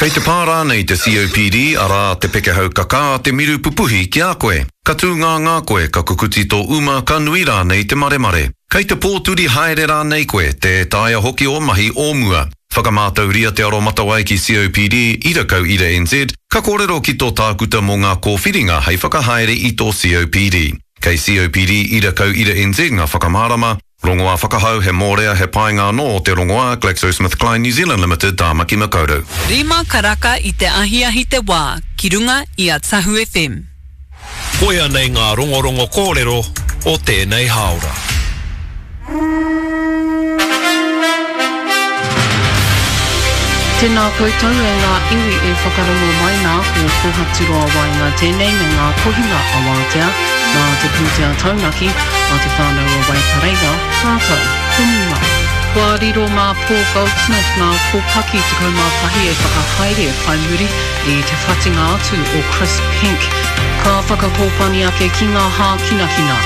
Kei te pā rānei te COPD, arā, te pekehau kakā, te miru pupuhi ki a koe? Ka tūngāngā koe, ka kukuti tō uma, ka nui rānei te maremare? Kei te pōturi haere rānei koe, tē taea hoki ō mahi o mua? Whakamātauria te aromatawai ki COPD, ira kau ira NZ, ka kōrero ki tō tākuta mō ngā kōwhiringa hei whakahaere i tō COPD. Kei COPD ira kau ira NZ ngā whakamārama, Rongoā whakahau, he mōrea, he painga anō o te rongoā, GlaxoSmithKline New Zealand Limited, Tāmaki Makaurau. Rima karaka i te ahiahi te wā ki runga i a Tahu FM. Koia nei ngā rongorongo kōrero o tēnei hāora. Tēnā koutou e ngā iwi e whakarongo mai nā, ko Kohaturoa Waenga tēnei me ngā kohinga awātea. Nā te pūtea taunaki a Te Whānau o Waipareira rātou ko Muma. Kua riro mā Paul Goldsmith ngā kōpaki 11 e whakahaere whai muri i te whatinga atu o Chris Penk. Ka whakakōpani ake ki ngā hākinakina.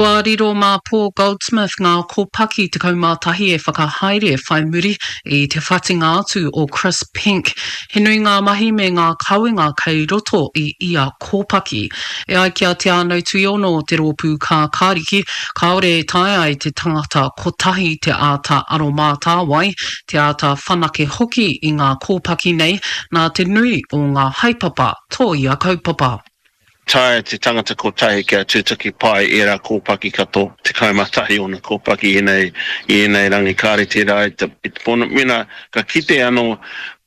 Kua riro mā Paul Goldsmith ngā kōpaki 11 e whakahaere whai muri i te whatinga atu o Chris Penk. He nui ngā mahi me ngā kawenga kei roto i ia kōpaki. E ai ki a Te Ānau Tuiono o te Rōpū Kākāriki, kāore e taea e te tangata kotahi te āta aromātāwai, te āta whanake hoki i ngā kōpaki nei nā te nui o ngā haepapa tō ia kaupapa. Taea te tangata kotahi kia tutuki pai ērā kōpaki katoa, 11 ōna kōpaki ēnei, i ēnei rangi kāre tērā i te, i te pono. Mēnā ka kite anō,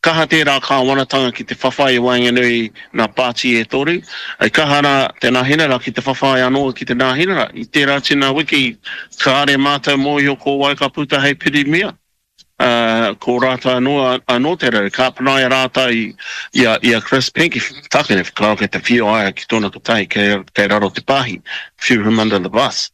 kaha tērā kāwanatanga ki te whawhai i waenganui i ngā pāti e toru, i kaha rā te Nāhinara ki te whawhai anō ki te Nāhinara. I tērā tēnā wiki, kāre mātou mōhio ko wai ka puta hei Pirimia. Ā, ko rātou anō, anō te rau, ka panaia rātou i, i a, i a Chris Penk, tākine whakaaro kei te whio aia ki tōna kotahi, kei, kei raro te pāhi, threw him under the bus.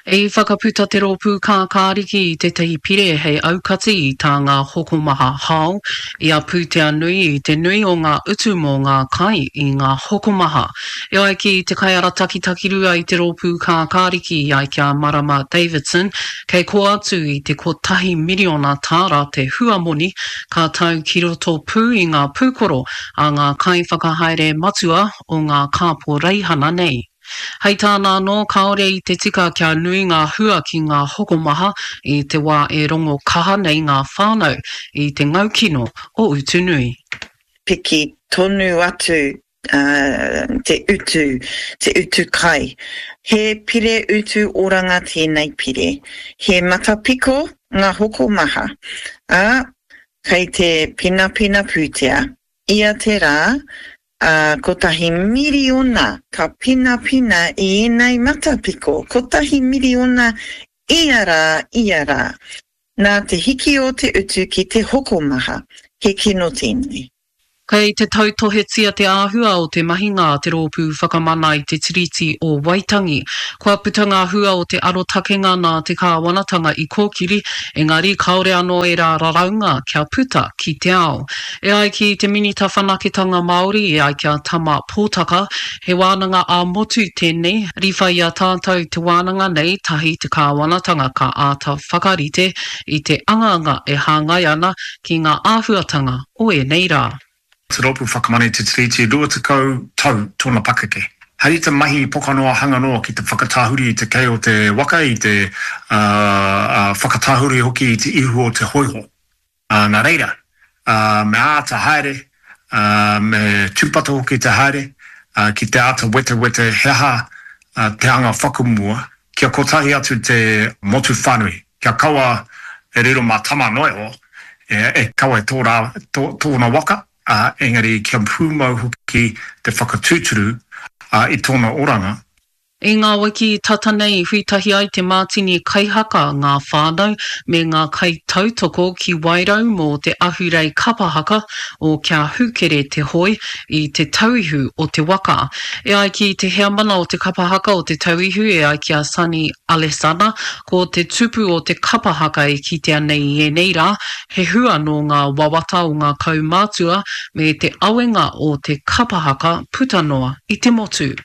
I whakaputa te Rōpū Kākāriki i tētahi pire hei aukati i tā ngā hokomaha hao i a pūtea nui i te nui o ngā utu mō ngā kai i ngā hokomaha. E ai ki te kaiarataki takirua i te Rōpū Kākāriki i ai ki a Marama Davidson, Kei kō atu i te kotahi miriona tāra te huamoni ka tau ki roto pū i ngā pūkoro a ngā kaiwhakahaere matua o ngā kāporeihana nei. Hei tāna anō, kāore i te tika kia nui ngā hua ki ngā hokomaha i te wā e rongo kaha nei ngā whānau i te ngaukino o utu nui. Piki tonu atu te utu, te utu kai. He pire utu oranga tēnei pire. He matapiko ngā hokomaha, ā, kei te penapena pūtea. Ia te rā, ā, kotahi miriona ka penapena i ēnei matapiko, kotahi miriona ia rā, ia rā. Nā te hiki o te utu ki te hokomaha, he kino tēnei. Kei te tautohetia te āhua o te mahinga a te Rōpū Whakamana i te Tiriti o Waitangi. Kua puta ngā hua o te arotakenga nā te kāwanatanga i kōkiri, engari kāore anō ērā raraunga kia puta ki te ao. E ai ki te Minita Whanaketanga Māori, e ai ki a Tama Pōtaka, he wānanga ā-motu tēnei, riwha i a tātou te wānanga nei tahi te kāwanatanga ka āta whakarite i te angaanga e hāngai ana ki ngā āhuatanga o ēnei rā. Te Rōpū Whakamana i te Tiriti, 20 tau tōna pakeke. Hei te mahi pokanoa hanga noa ki te whakatāhuri i te kei o te waka, i te whakatāhuri hoki i te ihu o te hōiho. Nā reira, me āta haere, me tūpato hoki te haere, ki te āta wetewete he aha te anga whakamua, kia kotahi atu te motu whānui. Kia kaua e riro mā Tama noa iho e kawe tōna waka, engari kia pūmau hoki te whakatūturu i tōna oranga. I ngā wiki tata nei i huitahi ai te mātini kaihaka, ngā whānau, me ngā kaitautoko ki Wairau mō te ahurei kapa haka o Kia Hūkere Te Hoe i Te Tauihu o te Waka. E ai ki te heamana o te kapa haka o Te Tauihu e ai ki a Sonny Alesana, Ko te tupu o te kapa haka e kitea nei i ēnei rā, he hua nō ngā wawata o ngā kaumātua me te awenga o te kapa haka puta noa i te motu.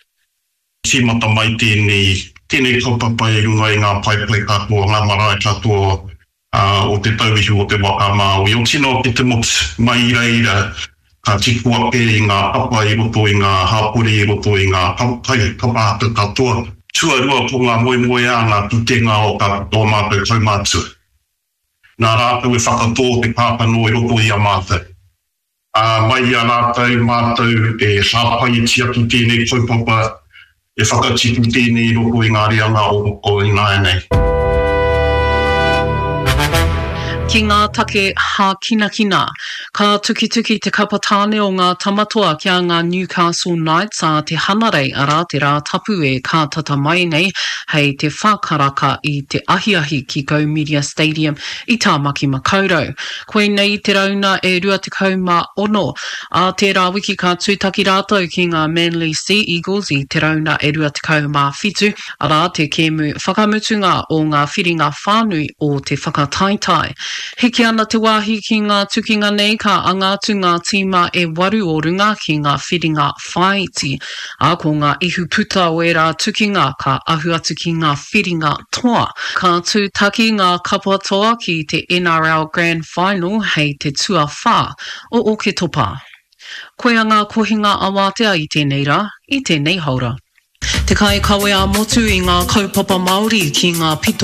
Tīmata mai tēnei, tēnei kaupapa i runga i ngā paepae katoa, ngā marae katoa. O te tauihu o te waka a Māui, o tino ki te motu, mai i reira ka tipu ake i ngā papa i roto i ngā hapori, i roto i ngā kapa haka katoa. Tuarua ko ngā moemoeā, ngā pūkenga o ō mātou kaumātua. Nā rātou e whakatō te kākano i roto i a mātou. Ā, mai i a rātou mātou e hāpai e tiaki tēnei kaupapa, e whakatipu tēnei i roto i ngā reanga o ināianei. Ki ngā take hākinakina. Ka tukituki te kapa tāne o ngā Tamatoa ki a ngā Newcastle Knights ā te Hanarei, arā, te Rātapu e kātata mai nei hei te wha karaka i te ahiahi ki Go Media Stadium i Tāmaki Makaurau. Koinei te rauna e 26. Ā tērā wiki ka tūtaki rātou ki ngā Manly Sea Eagles i te rauna e 27, arā, te kēmu whakamutunga o ngā whiringa whānui o te whakataetae. Hiki ana te wāhi ki ngā tukinga nei ka anga atu ngā tīma e waru o runga ki ngā whiringa whāiti, ā, ko ngā ihuputa o ērā tukinga ka ahu atu ki ngā whiringa toa. Ka tūtaki ngā kapa toa ki te NRL Grand Final hei te tuawhā o Oketopa. Koia ngā kohinga awātea i tēnei rā, i tēnei haora. Te kaikawe ā-motu i ngā kaupapa Māori ki ngā pito.